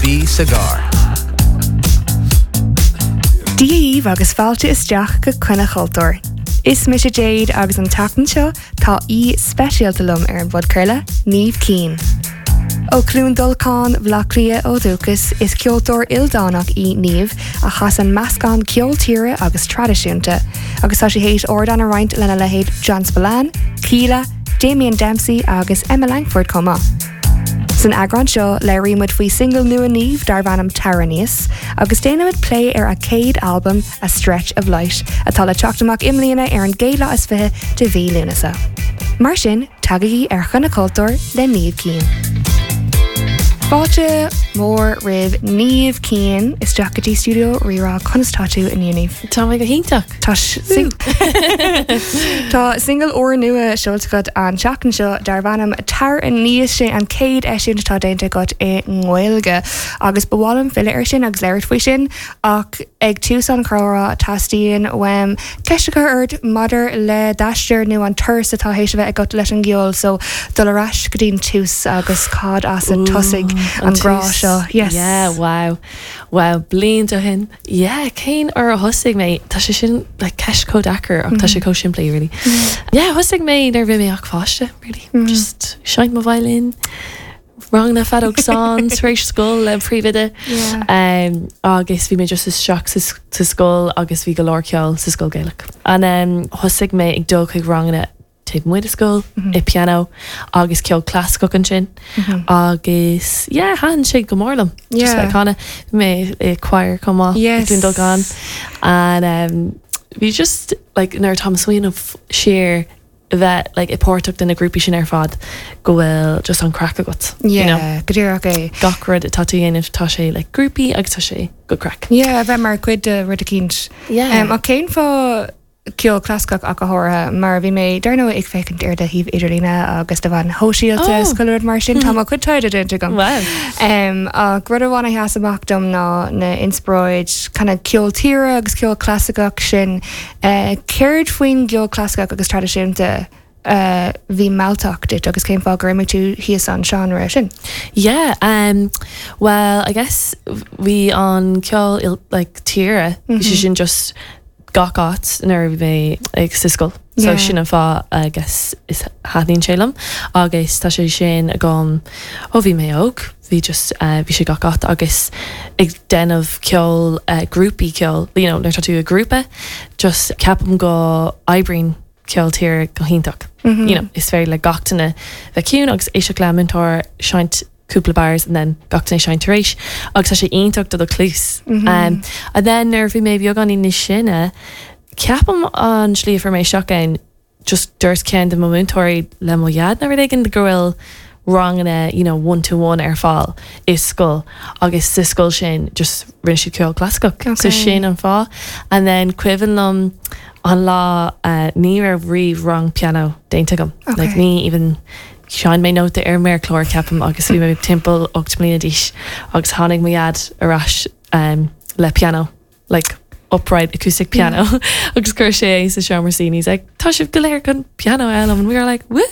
Bí sa gcarr. Dia dhaoibh agus fáilte isteach go Coinne Chultúir. Is mise Jade agus an tseachtain seo tá aoi speisialta liom ar an bpodchraoladh, Niamh Keane. Ó Chluain Dolcáin, Bhaile Átha Cliath ó dhúchas, is ceoltóir ildánach í Niamh a chasann meascán ceol tíre agus traidisiúnta, agus tá sí théis ardán a roinnt lena leithéid John Spillane, Kíla, Damien Dempsey agus Emma Langford chomh maith. San eagrán seo, labhraímid faoi single nua Niamh darb ainm Tar Aníos, agus déanaimid plé ar a céad albam, A Stretch of Light, atá le teacht amach i mbliana ar an gcéad lá is 20 de mhí Lúnasa. Mar sin, tagaigí ar Choinne Chultúir le Niamh Keane. Fáilte mhór roimh Niamh Keane isteach go dtí stiúideo Rí-Rá. Conas tá tú inniu, Niamh? Tá mé go hiontach. Tá Tá single úrnua seolta agat an tseachtain seo darb ainm Tar Aníos. Sé an chéad eisiúint atá déanta agat i nGaeilge agus ba mhaith liom filleadh air sin agus labhairt faoi sin ach ag tús an chomhrá teastaíonn uaim ceist a chur ort maidir le d'aistear nó an turas atá théis a bheith agat leis an gceol so dul ar ais go dtí'n tús agus cad as a tosaigh an grá seo. Yes. Yeah, wow. Wow, blianta ó shin. Yeah, cén uair a thosaigh mé? Tá sé sin like ceist chomh deacair ach tá sé chomh simplí really. Yeah, thosaigh mé nuair a bhí mé ach pháiste really. Just seinnt mo violin, ranganna feadóg stáin tar éis scoil le príomhoide. Um, agus bhí mé just isteach sa, sa scoil agus bhí go leor ceol sa scoil Gaelach. And um, thosaigh mé ag dul chuig ranganna taobh amuigh de scoil, i pianó agus ceol clasaiceach ansin agus yeah thaitin sé go mór liom just bheith ag canadh. Bhí mé i choir chomh maith i gCluain Dolcáin and um, bhí just like nuair atá mé ag smaoineamh siar a bheith like i páirteach de na grúpaí sin ar fad go bhfuil just an craic agat you know. Yeah, go díreach é. Gach rud atá tú a dhéanamh tá sé like grúpaí agus tá sé good craic. Yeah, a bheith mar chuid de rud eicínt. Yeah. Um, ach cén fáth ceol clasaiceach ach go háirithe, mar bhí mé, dar ndóigh, ag féachaint ar do shuíomh idirlíne agus do mheáin shóisialta is chuile rud mar sin, tá mo chuid taighde déanta agam. Wow. Ach rud amháin a sheas amach dom ná na inspioráid kind of ceol tíre agus ceol clasaiceach sin. Céard faoin gceol clasaiceach agus traidisiúnta a bhí mealltach duit agus cén fáth gur imigh tú thíos an seánra sin? Yeah, um, well, I guess bhí an ceol like tíre, bhí sé sin just gach áit nuair a bhí mé ag sa scoil. So Yeah. sin an fáth I guess is thaitníonn sé liom agus tá sé sin agam ó bhí mé óg, bhí just eh, bhí sé gach áit agus ag déanamh ceol eh, grúpaí ceoil, you know, nuair tá tú i grúpa, just ceapaim go oibríonn ceol tíre go hiontach. You know, is féidir le gach duine bheith ciúin agus éisteacht le múinteoir seinnt cúpla bars and then gach duine seinnt tar éis agus tá sé iontach do do chluas. Um, and then nuair a bhí mé beagáinín níos sine, ceapaim an slí a fuair mé isteach ann, just dúirt ceann de mo mhúinteoirí le mo dhaid nó rud éigin go bhfuil ranganna you know one to one ar fáil i scoil agus sa scoil sin just rinne siad ceol clasaiceach. So sin an fáth. And then cuimhin liom an lá uh, ní raibh riamh rang pianó déanta agam. Like ní even Sheinn mé nóta ar méarchlár, ceapaim, agus bhí mé timpeall 8 mbliana d'aois agus tháinig mo dhaid ar ais le pianó, like upright acoustic piano agus chuir sé é sa seomra suí and he's like, tá sibh go léir chun piano a fhoghlaim and we were like, woo!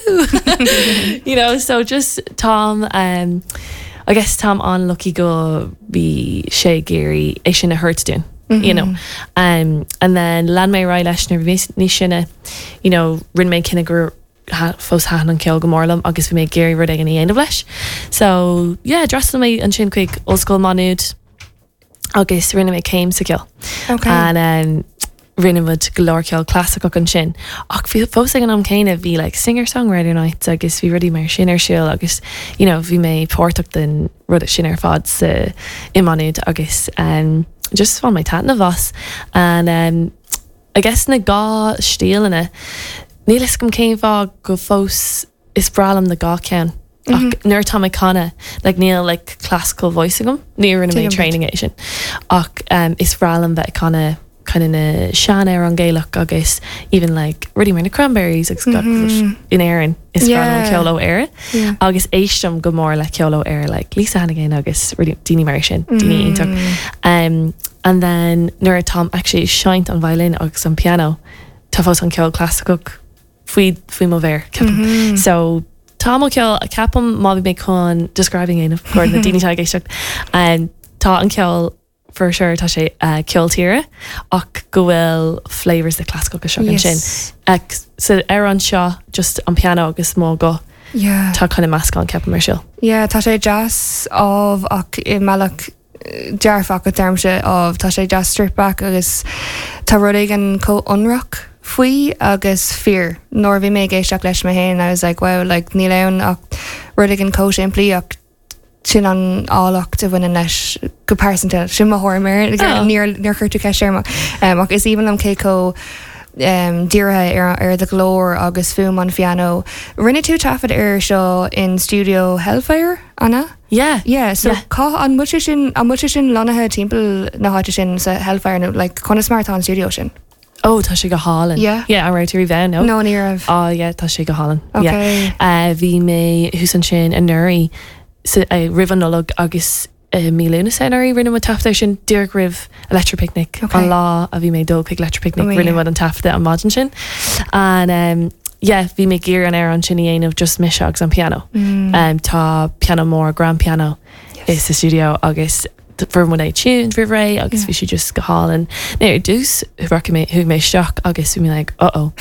You know, so just táim, um, I guess táim an-lucky go bhí sé ag iarraidh é sin a thabhairt dúinn, you know. Um, and then lean mé ar aghaidh leis nuair a bhí mé níos sine, you know, rinne mé cinneadh go fós thaitin an ceol go mór liom agus bhí mé ag iarraidh rud éigin a dhéanamh leis. So yeah, d'fhreastail mé ansin chuig Ollscoil Má Nuad agus rinne mé céim sa cheol. Okay. And um, rinne muid go leor ceol clasaiceach ansin. Ach bhí fós ag an am céanna bhí like singer-songwriter nights agus bhí rudaí mar sin ar siúl agus you know, bhí mé páirteach den rud sin ar fad sa i Má Nuad agus um, just bhain mé taitneamh as. And um, I guess na dhá stíleanna, níl fhios agam cén fáth go fós is breá liom na dhá ceann ach nuair atá mé ag canadh like níl like classical voice agam, ní rinne mé training é sin ach um, is breá liom bheith ag canadh kind of na sean-amhráin Gaelach agus even like rudaí mar na Cranberries agus gach rud in Éirinn is breá liom ceol ó Éire agus éistim go mór le ceol ó Éire like Lisa Hannigan agus rudaí daoine mar sin, daoine iontach. Um, and then nuair atáim actually ag seinnt an violin agus an piano tá fós an ceol clasaiceach faoi faoi mo mhéar ceapaim. So. Tá mo cheol, ceapaim má bhí mé chun describing a dhéanamh do na daoine atá ag éisteacht, tá an ceol for sure tá sé ceol tíre ach go bhfuil flavours de clasaiceach isteach ansin. Sa amhrán seo just an piano agus mo ghuth. Yeah. Tá kind of meascán ceapaim ar siúl. Yeah, tá sé deas ámh ach i mbealach dearfach a deirimse ámh. Tá sé deas stripped back agus tá rud éigin chomh ionraic faoi agus fíor. Nuair a bhí mé ag éisteacht leis mé féin I was like wow like níl ann ach rud éigin chomh simplí ach sin an áilleacht a bhaineann leis go pearsanta. Sin mo thuairim air. Níor níor chuir tú ceist orm ach is aoibhinn liom cé chomh dírithe ar ar do ghlór agus fuaim an phianó. Rinne tú taifead air seo in stiúideo Hellfire, an ea? Yeah. Yeah, so Yeah. cá an bhfuil sé sin an bhfuil sé sin lonnaithe timpeall na háite sin sa Hellfire nó like conas mar atá an stiúideo sin? Oh, tá sé go hálainn. Yeah. Yeah, an raibh tú riamh ann, no? No, ní raibh. Oh yeah, tá sé go hálainn. Okay. Yeah. Uh, bhí mé thuas ansin anuraidh sa, uh, roimh an Nollaig agus i mí Lúnasa anuraidh rinne muid taifead air sin díreach roimh Electric Picnic Okay. an lá a bhí mé ag dul chuig Electric Picnic Oh, yeah. rinne muid an taifeadadh an maidin sin. And um, yeah, bhí mé ag iarraidh an amhrán sin a dhéanamh just mise agus an piano. Um, tá piano mór, grand piano Yes. sa studio agus fuair muid é tuned roimh ré agus Yeah. bhí sé just go hálainn. Now ar dtús rachaidh mé chuaigh mé isteach agus bhí mé like uh oh.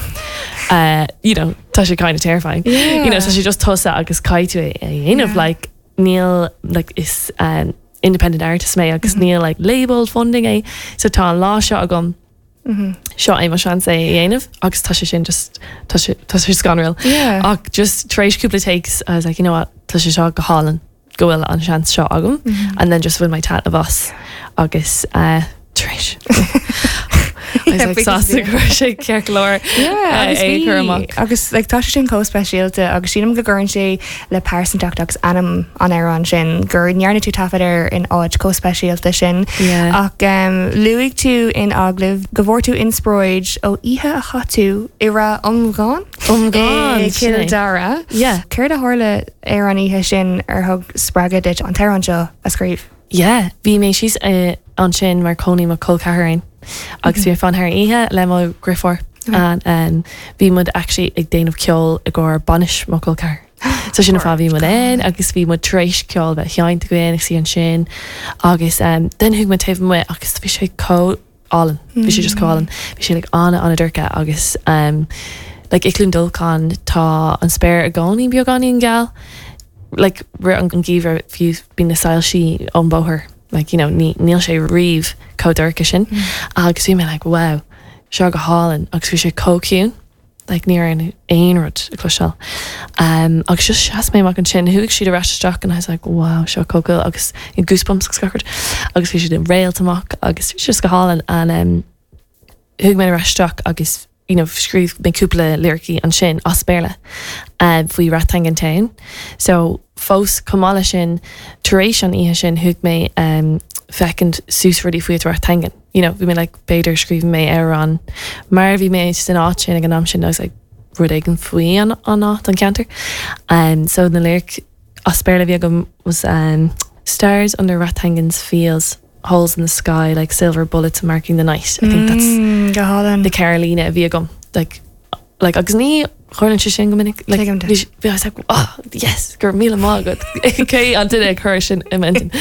Uh, you know, tá sé kind of terrifying. Yeah. You know, tá sé just tusa agus caithfidh tú é a dhéanamh Yeah. like níl like is um, independent artist mé agus níl like label funding é so tá an lá seo agam seo é mo seans é a dhéanamh agus tá sé sin just tá sé tá sé scanrúil. Yeah. Ach just tar éis cúpla takes I was like you know what tá sé seo go hálainn go bhfuil an seans seo agam and then just bhain mé taitneamh as agus uh, tar éis I was like sásta go raibh sé ceart go leor Yeah, agus é a chur bhí- amach. Agus like, tá sé sin chomh speisialta agus sílim go gcuireann sé le pearsantacht agus anam an amhráin sin gur ndearna tú taifead air in áit chomh speisialta sin. Yeah. Ach um, luaigh tú in agallamh go bhfuair tú inspioráid ó oíche a chaith tú i Ráth Iomgháin Iomgháin, i sin Cill é. Dara. Yeah. Céard a tharla ar an oíche sin ar thug spreagadh duit an t-amhrán seo a scríobh? Yeah, bhí mé síos ansin mar cónaí mo chol ceathar ann agus bhí mé ag fanacht thar an oíche le mo dheirfiúr and um, bhí muid actually ag déanamh ceol i gcomhair bainis mo chol ceathar. So sin an fáth bhí muid ann agus bhí muid tar éis ceol bheith seinnte againn agus í ansin agus um, then chuaigh muid taobh amuigh agus bhí sé chomh álainn. Bhí sé just chomh álainn. Bhí sé like ana ana dorcha agus um, like i Cluain Dolcáin tá an spéir i gcónaí beagáinín geal. Like rith an geimhreadh fiú bíonn na soilsí ón bóthar like you know ní níl sé riamh chomh dorcha sin. Agus bhí mé like wow seo go hálainn agus bhí sé chomh ciúin. Like ní raibh aon rud le cloisteáil. Um, agus just sheas mé amach ansin, chuaigh siad ar ais isteach and I was like wow seo chomh cool agus goosebumps agus gach rud. Agus bhí siad ag réalt amach agus bhí sé just go hálainn and um, chuaigh mé ar ais isteach agus you know, scríobh mé cúpla liricí ansin as Béarla um, faoi Rathangan Town. So fós chomh maith leis sin tar éis an oíche sin chuaigh mé um, féachaint suas rudaí faoi Rathangan. You know, bhí mé like b'fhéidir scríobh mé amhrán mar bhí mé san áit sin ag an am sin I was like rud éigin faoi an an áit an ceantar. Um, so na lyric as Béarla bhí agam was um, stars under Rathangan's fields holes in the sky like silver bullets marking the night. I think that's Mm, go hálainn. the ceithre líne a bhí agam like like agus ní tharlaíonn sé sin go minic like Tuigim duit. bhí bhí I was like oh yes go raibh míle maith agat cé an duine a chuir sin i m'intinn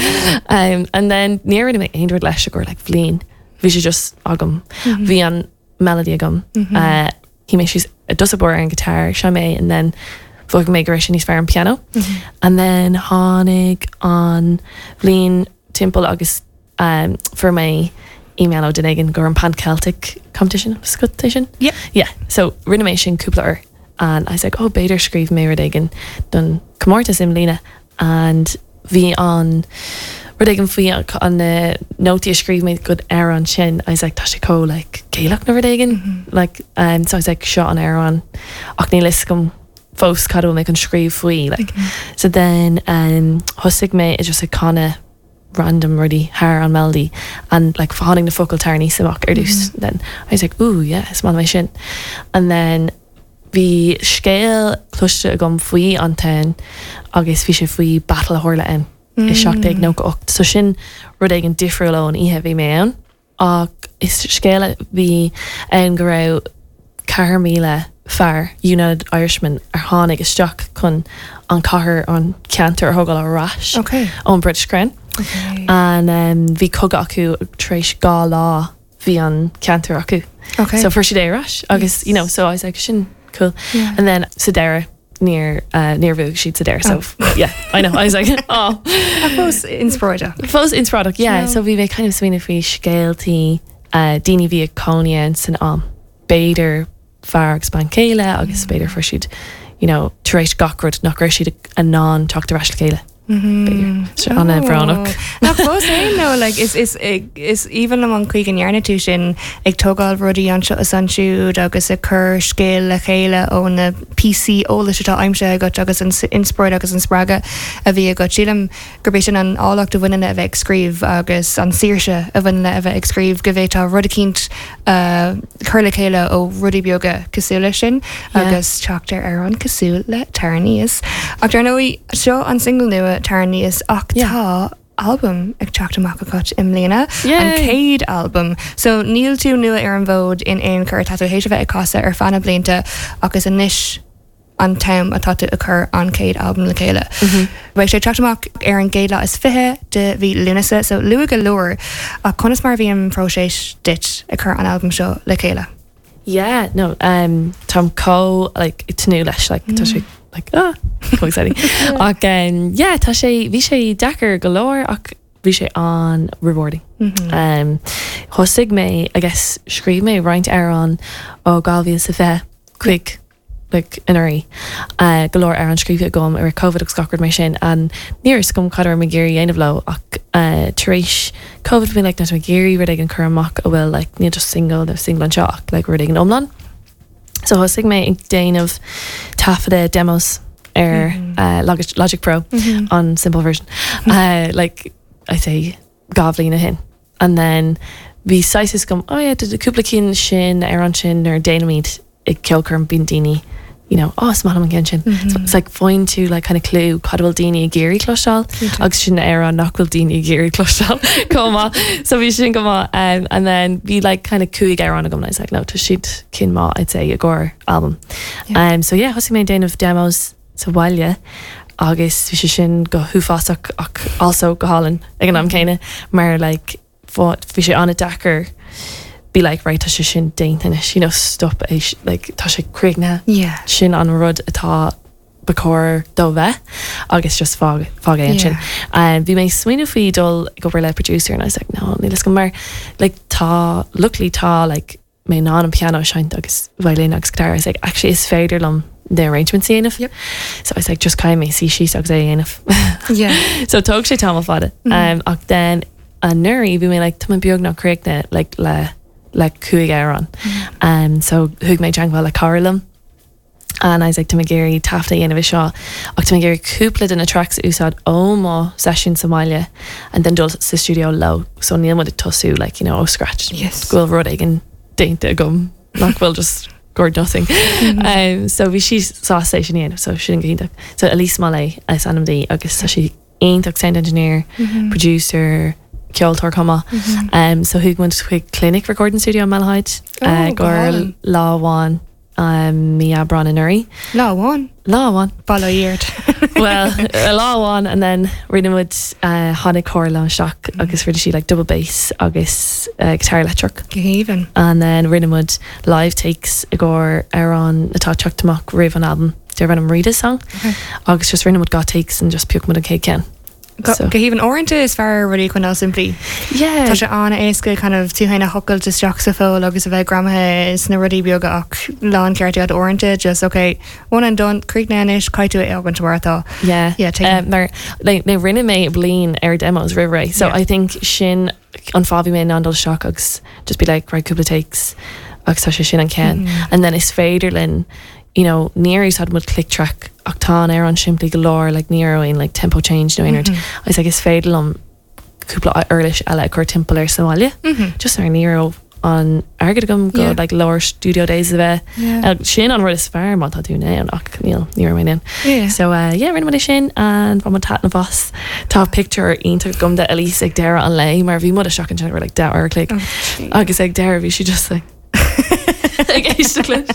um, and then ní rinne mé aon rud leis i gcomhair like bhliain bhí sé just agam bhí an melody agam uh, shuigh mé síos i dtús báire ar an guitar sheinn mé and then mhothaigh mé go raibh sé níos fearr an piano and then tháinig an bhliain timpeall agus um, fuair mé email ó duine éigin gur an Pan Celtic competition scut é sin? Yeah. Yeah, so rinne mé sin cúpla uair and I was like, oh b'fhéidir scríobh mé rud éigin don comórtas i mbliana and bhí an rud éigin faoi an na nótaí a scríobh mé don amhrán sin I was like tá sé chomh like Gaelach nó rud éigin like um, so I was like seo an amhrán ach níl fhios agam fós cad a bhfuil mé chun scríobh faoi like so then um, thosaigh mé just ag canadh random rudaí thar an melody and like tháinig na focail tar aníos amach ar dtús then I was like ooh yeah is maith liom é sin and then bhí scéal cloiste agam faoi an town agus bhí sé faoi battle a tharla ann i 1798 so sin rud éigin difriúil ón oíche a bhí mé ann ach is scéal a bhí ann go raibh 4,000. fear, United Irishman, ar tháinig isteach chun an cathair, an ceantar a thógáil ar ais ón British Crown. And bhí cogadh acu tar éis 2 lá bhí an ceantar acu. So fuair siad é ar ais agus you know so I was like sin cool. And then sa deireadh níor níor bhuaigh siad sa deireadh so yeah I know I was like oh. Ach fós inspioráideach. Fós inspioráideach yeah so bhí mé kind of smaoineamh faoi scéaltaí daoine a bhí ag cónaí ann san am. B'fhéidir fear agus bean chéile agus b'fhéidir fuair siad you know tar éis gach rud nach raibh siad in ann teacht ar ais le chéile. B'fhéidir. Sin an-bhrónach. Ach fós féin no like is is is aoibhinn liom an chaoi go ndearna tú sin ag tógáil rudaí anseo is ansiúd agus ag cur scéal le chéile ó na píosaí eolais atá aimsithe agat agus an inspioráid agus an spreagadh a bhí agat. Sílim gurb é sin an áilleacht a bhaineann le a bheith ag scríobh agus an saoirse a bhaineann le a bheith ag scríobh, go bhféadfá rud eicínt a chur le chéile ó rudaí beaga cosúil leis sin agus teacht ar amhrán cosúil le Tar Aníos. Ach dar ndóigh, seo an single nua Tar Aníos ach tá albam ag teacht amach agat i mbliana, an chéad albam. So níl tú nua ar an bhfód in aon chor, tá tú théis a bheith ag casadh ar feadh na blianta ach is anois, an t-am atá tú ag cur an chéad albam le chéile. Beidh sé ag teacht amach ar an gcéad lá is 20 de mhí Lúnasa, so luath go leor. Ach conas mar a bhí an próiseas duit ag cur an albam seo le chéile? Yeah, no, um, táim chomh like, ag tnúth leis, like, tá sé like, ah, chomh exciting. Ach um, yeah, tá sé, bhí sé deacair go leor ach bhí sé an-rewarding. Um, thosaigh mé, I guess, scríobh mé roinnt amhrán ó 2020 chuig like anuraidh. Go leor amhrán scríofa agam i rith Covid agus gach rud mar sin and ní raibh fhios agam cad a raibh mé ag iarraidh a dhéanamh leo ach tar éis Covid bhí mé like tá mé ag iarraidh rud éigin cur amach a bhfuil like níl just single nó single anseo ach like rud éigin iomlán. So thosaigh mé ag déanamh taifeadadh demos ar Logic, Logic Pro an simple version like I say 2 bhliain ó shin. And then bhí saghas fhios agam, oh yeah, cúpla cinn sin ar ansin nuair a déanaimid ag ceolchoirm bíonn daoine you know, oh is maith liom an ceann sin. So it's like faigheann tú like kind of clue cad a bhfuil daoine ag iarraidh cloisteáil agus sin amhrán nach bhfuil daoine ag iarraidh cloisteáil chomh maith. So bhí sin go maith. Um, and then bhí like kind of cúig amhrán agam and I was like, no, tá siad cinn maith I'd say i gcomhair album. Um, so yeah, thosaigh mé ag déanamh demos sa bhaile agus bhí sé sin go huafásach ach also go hálainn ag an am céanna mar like bhí sé an-deacair be like right tá sé sin déanta anois you know stop é like tá sé críochnaithe yeah. sin an rud atá ba chóir dó bheith agus just fág fág é ansin. Yeah. Um, bhí mé ag smaoineamh faoi dul ag obair le producer and I was like no níl fhios agam mar like tá luckily tá like mé in ann an pianó a seinnt agus violin agus guitar I was like actually is féidir liom na arrangements a dhéanamh. Yep. So I was like just caithfidh mé suí síos agus é a dhéanamh. Yeah. so tóg sé tamall fada. Mm -hmm. um, ach then anuraidh bhí mé like tá mé beagnach críochnaithe like le le cúig amhrán. Mm -hmm. um, so thug mé teagmháil le cara liom and I was like tá mé ag iarraidh taifead a dhéanamh air seo ach tá mé ag iarraidh cúpla de na tracks a úsáid ó mo seisiún sa mbaile and then dul sa stiúideo leo so níl muid ag tosú like you know ó scratch yes. go bhfuil rud éigin déanta agam nach bhfuil just got nothing. Mm -hmm. um, so bhí sí sásta é sin a dhéanamh so sin go hiontach. So Elise Mollet is ainm di agus tá sí iontach sound engineer, mm -hmm. producer, ceoltóir chomh maith. Mm -hmm. um, so chuaigh muid chuig Clinic Recording Studio in Malahide oh, uh, gur lá amháin um, mí Aibreán anuraidh. Lá amháin? Lá amháin. Bail ó Dhia ort. Well, lá amháin and then rinne muid uh, tháinig cara liom isteach agus rinne sí like double bass agus uh, guitar leictreach. Go haoibhinn. And then rinne muid live takes i gcomhair amhrán atá ag teacht amach roimh an album darb ainm Rita's Song. Okay. Agus just rinne muid 2 takes and just phioc muid an chéad ceann. Go haoibhinn. Uaireanta is fearr rudaí a choinneáil simplí. Yeah. Tá sé an-éasca kind of tú féin a thochailt isteach sa pholl agus a bheith greamaithe sna rudaí beaga ach láncheart agat uaireanta just ok, one and done, críochnaithe anois, caithfidh tú é a fhágaint mar atá. Yeah. Yeah, tuigim. Mar like, now rinne mé bliain ar demos roimh ré so Yeah. I think sin an fáth bhí mé in ann dul isteach agus just be like right cúpla takes agus tá sé sin an ceann. And then is féidir linn you know níor úsáid muid click track ach tá an amhrán simplí go leor like ní raibh aon like tempo change nó aon rud. I was like is féidir liom cúpla uirlis eile a chur timpeall air sa bhaile. Just mar ní raibh an airgead agam go Yeah. like leor studio days a bheith. Yeah. Sin an rud is fearr má tá tú in ann ach níl ní raibh mé in ann. Yeah. So uh, yeah, rinne muid é sin and bhain muid taitneamh as. Tá pictiúr iontach agam de Elise ag deireadh an lae mar bhí muid isteach ansin for like 10 uair a chloig. Oh, Agus ag deireadh bhí sí just like Ag éisteacht leis.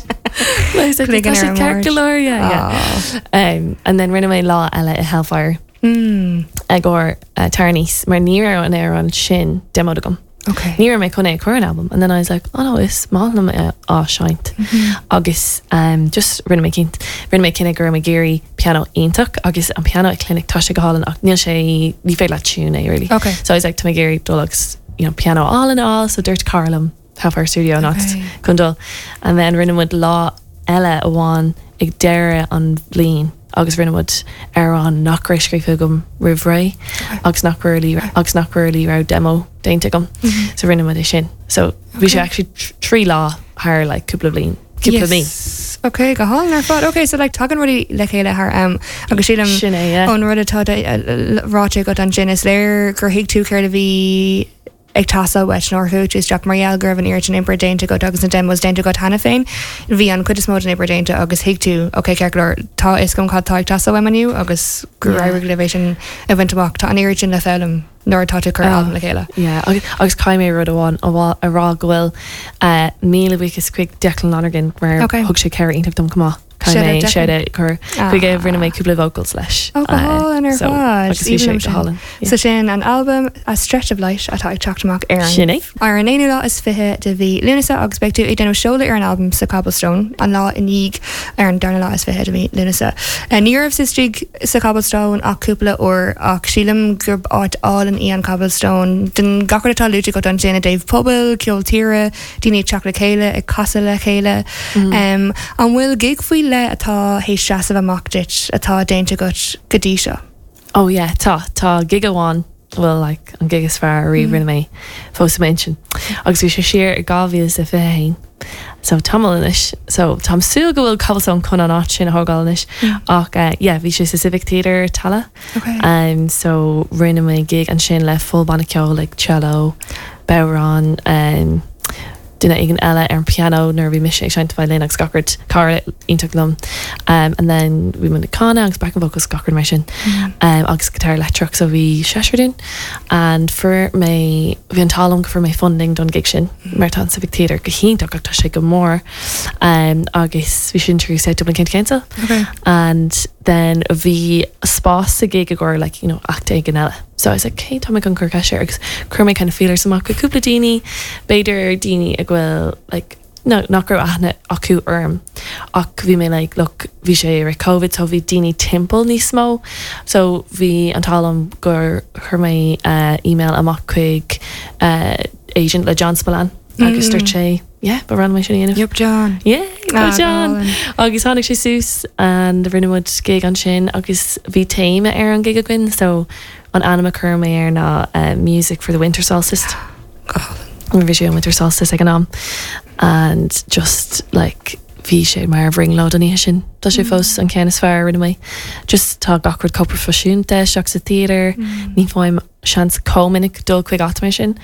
Like, tá sé ceart go leor, yeah, yeah. Um, and then rinne mé lá eile i Hellfire. Mm. I gcomhair uh, Tar Aníos, mar ní raibh an amhrán sin demoed agam. Okay. Ní raibh mé chun é a chur ar an album and then I was like, oh no, is maith liom é á seinnt. Mm -hmm. Agus um, just rinne mé cinnt, rinne mé cinneadh go raibh mé ag iarraidh piano iontach agus an piano ag Clinic tá sé go hálainn ach níl sé ní féidir leat tune é really. Okay. So I was like, tá mé ag iarraidh dul agus you know, piano álainn a fháil, so dúirt cara liom Hellfire Studio an áit chun dul. And then rinne muid lá eile amháin ag deireadh an bhliain agus rinne muid amhrán nach raibh scríofa agam roimh ré agus nach really agus nach really raibh demo déanta agam. So rinne muid é sin. So bhí sé actually 3 lá thar like cúpla bliain, cúpla mí. Yes. Ok, go hálainn ar fad. Ok, so like tagann rudaí le chéile thar am agus sílim Sin é, yeah. ón rud atá ráite agat ansin is léir gur thuig tú céard a bhí ag teastáil uait nuair a chuaigh tú isteach mar gheall go raibh an oiread sin oibre déanta agat agus na demos déanta agat cheana féin. Bhí an chuid is mó den obair déanta agus thuig tú, ok, ceart go leor, tá a fhios agam cad tá ag teastáil uaim inniu agus gur Yeah. éirigh libh é sin a bhaint amach. Tá an oiread sin le foghlaim nuair atá tú ag cur albam le chéile. Yeah, agus, agus caithfidh mé rud amháin a, a rá go bhfuil uh, míle buíochas chuig Declan Lonergan mar Ok. thug sé cabhair iontach dom chomh maith. Caithfidh Shout out mé Declan. shout out a chur chuige rinne mé cúpla vocals leis. Ó, go hálainn ar so, fad. Agus bhí Aoibhinn sé liom go sin. hálainn. So sin an albam A Stretch of Light atá ag teacht amach ar an Sin é. Ar an aonú lá is 20 de mhí Lúnasa agus beidh tú ag déanamh seoladh ar an albam sa Cobblestone an lá i ndiaidh ar an darna lá is 20 de mhí Lúnasa. Ní rabhas istigh sa Cobblestone ach cúpla uair ach sílim gurb áit álainn í an Cobblestone. Den gach rud atá luaite agat ansin i dtaobh pobail, ceol tíre, daoine ag teacht le chéile, ag casadh le chéile. An bhfuil gig faoi leith atá théis seasamh amach duit atá déanta agat go dtí seo? Oh yeah, tá. Tá gig amháin, bhuel like an gig is fearr ariamh rinne mé fós i m'intinn. Agus bhí sé siar i 2021, so tamall anois. So táim súil go bhfuil Cobblestone chun an áit sin a thógáil anois. Ach eh yeah, bhí sé sa Civic Theatre, Tallaght. Okay. Um, so rinne mé gig ansin le full banna ceoil like cello, bodhrán, um, duine éigin eile ar an piano nuair a bhí mise ag seinnt violin agus gach rud, cara iontach liom. Um, and then bhí muid ag canadh agus backing vocals gach rud mar sin. Um, agus guitar leictreach so bhí seisear dúinn. And fuair mé, bhí an t-ádh liom go fuair mé funding don gig sin mar tá an Civic Theatre go hiontach ach tá sé go mór. Um, agus bhí sin trí South Dublin County Council. Okay. And then bhí spás sa gig i gcomhair like, you know, act éigin eile. So I was like, cé tá mé chun cur ceist air agus chuir mé kind of feelers amach go cúpla daoine, b'fhéidir daoine a bhfuil like, no, nach raibh aithne acu orm ach bhí mé like, look, bhí sé i rith Covid so bhí daoine timpeall níos mó so bhí an t-ádh liom gur chuir mé uh, email amach chuig uh, agent le John Spillane agus dúirt sé yeah, ba bhreá liom é sin a dhéanamh. Yup John. Yeah, go Ah, go John! hálainn. Agus tháinig sé suas and rinne muid gig ansin agus bhí téama ar an gig againn so an ainm a chuir mé air ná uh, Music for the Winter Solstice. Go hálainn. Mar bhí sé an Winter Solstice ag an am and just like bhí sé mar bhrionglóid an oíche sin. Tá sé fós an ceann is fearr a rinne mé. Just tá gach rud chomh proifisiúnta isteach sa theatre, ní fhaighim seans chomh minic dul chuig áit mar sin.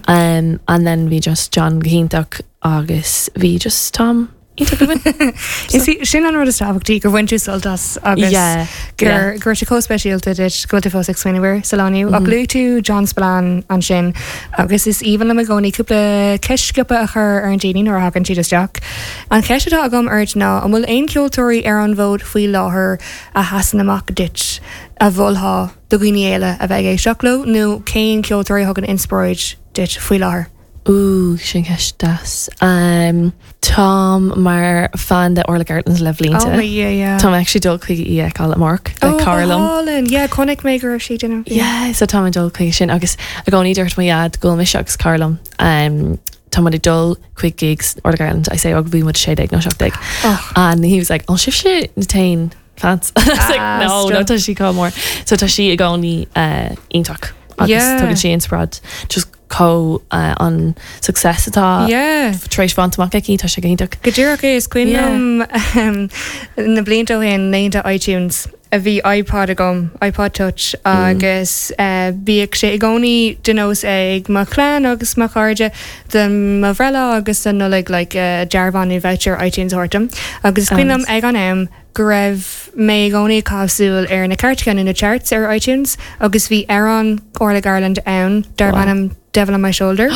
Um, and then bhí just John go hiontach agus bhí just am iontach againn. Is í sin an rud is tábhachtaí gur bhain tú sult as agus Yeah, gur yeah. go raibh sé chomh speisialta duit go bhfuil tú fós ag smaoineamh air sa lá inniu. Ach luaigh tú John Spillane ansin agus is aoibhinn liom i gcónaí cúpla ceist sciobtha a chur ar an daoine nuair a thagann siad isteach. An cheist atá agam ort ná an bhfuil aon cheoltóirí ar an bhfód faoi láthair a sheasann amach duit a mholfá do dhaoine eile a bheith ag éisteacht leo nó cén ceoltóirí a thugann inspioráid duit faoi láthair? Ooh, sin ceist deas. Um, táim mar fan de Orla Gartland le blianta. Oh my yeah, yeah. Tá mé actually dul chuig í a fheiceáil amárach le Oh, go cara liom. hálainn. Yeah, chonaic mé go raibh sí ag déanamh. Yeah, so tá mé dul chuige sin agus i gcónaí dúirt mo dhaid go bhfuil mise agus cara liom. Um, tá muid ag dul chuig gigs Orla Gartland, I say, ó bhí muid 16 nó 17. Oh. And he was like, oh, sibhse na t-aon fans. I was like, Ah, no, no, stop. tá sí chomh mór. So tá sí i gcónaí uh, iontach agus Yeah. tugann sí inspioráid just chomh uh, an success atá Yeah. tar éis bhaint amach aici, tá sé go hiontach. Go díreach é, is cuimhin Yeah. liom um, na blianta ó shin, laethanta iTunes, a bhí iPod agam, iPod Touch, agus uh, bhíodh sé i gcónaí de nós ag mo chlann agus mo chairde do mo bhreithlá agus don Nollaig like, uh, dearbhán nó voucher iTunes a thabhairt dom. Agus is cuimhin liom Nice. ag an am go raibh mé i gcónaí ag caitheamh súil ar na cairteacha nó na charts ar iTunes agus bhí amhrán Orla Gartland ann darb Wow. ainm Devil on My Shoulder.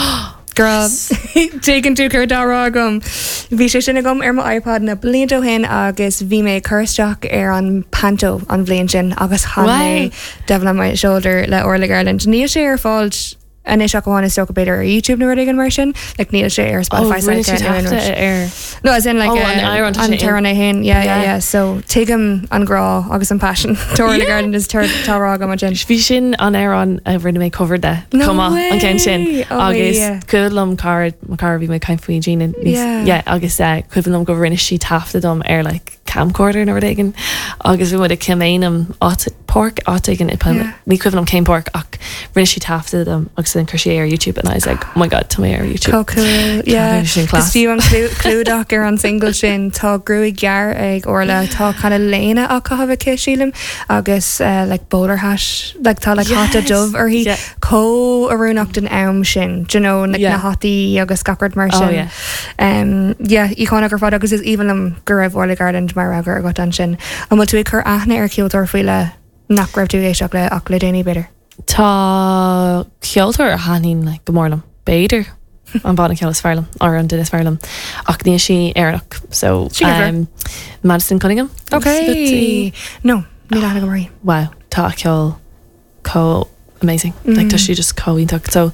Girl, tuigeann tú céard atá á rá agam. Bhí sé sin agam ar mo iPod na blianta ó shin agus bhí mé ag cur isteach ar an Panto an bhliain sin agus chan mé Devil on My Shoulder le Orla Gartland. Níl sé ar fáil anois ach amháin is dócha b'fhéidir ar YouTube nó rud éigin mar sin, like níl sé ar Spotify rinne sí taifeadadh ar. No, as in like Oh, an amhrán, tá an sé in- t-amhrán é féin, yeah, yeah, yeah. So tuigim an grá agus an passion do Orla Gartland is tá á rá agam ansin. Bhí sin an amhrán a rinne mé cover de No chomh maith, an ceann sin. way! Oh, Agus yeah. cuimhin liom cara, mo cara bhí mé ag caint faoi Gina níos, Yeah. yeah, agus eh, cuimhin liom go rinne sí taifeadadh dom ar like camcorder nó rud éigin agus bhí muid ag Kilmainham áit, páirc áit éigin i Yeah. ní cuimhin liom cén páirc ach rinne sí taifeadadh dom agus then chuir sí é ar YouTube and I was like oh my god tá mé ar YouTube. Chomh cool, yeah. Ceapaim sin Agus class. fiú an clúdach ar an single sin, tá gruaig ghearr ag Orla, tá kind of léine á caitheamh aici sílim agus eh, like bowler hat, like tá like hata Yes. dubh uirthi. Yeah. Chomh oiriúnach don am sin, do you know, like Yeah. na hataí agus gach rud mar Oh, sin. yeah. Um, yeah, íocónach ar fad agus is aoibhinn liom go raibh Orla Gartland mar rogha agat ansin. An bhfuil tú ag cur aithne ar cheoltóir faoi leith nach raibh tú ag éisteacht le ach le déanaí b'fhéidir? Tá ceoltóir a thaitníonn like, go mór liom, b'fhéidir an banna ceoil is fearr liom, or an duine is fearr liom, ach níl sí Éireannach, so Sin go Madison Cunningham. Ok. No, níl aithne agam uirthi. Wow, tá a ceol chomh amazing. Like, tá sí just chomh iontach. So,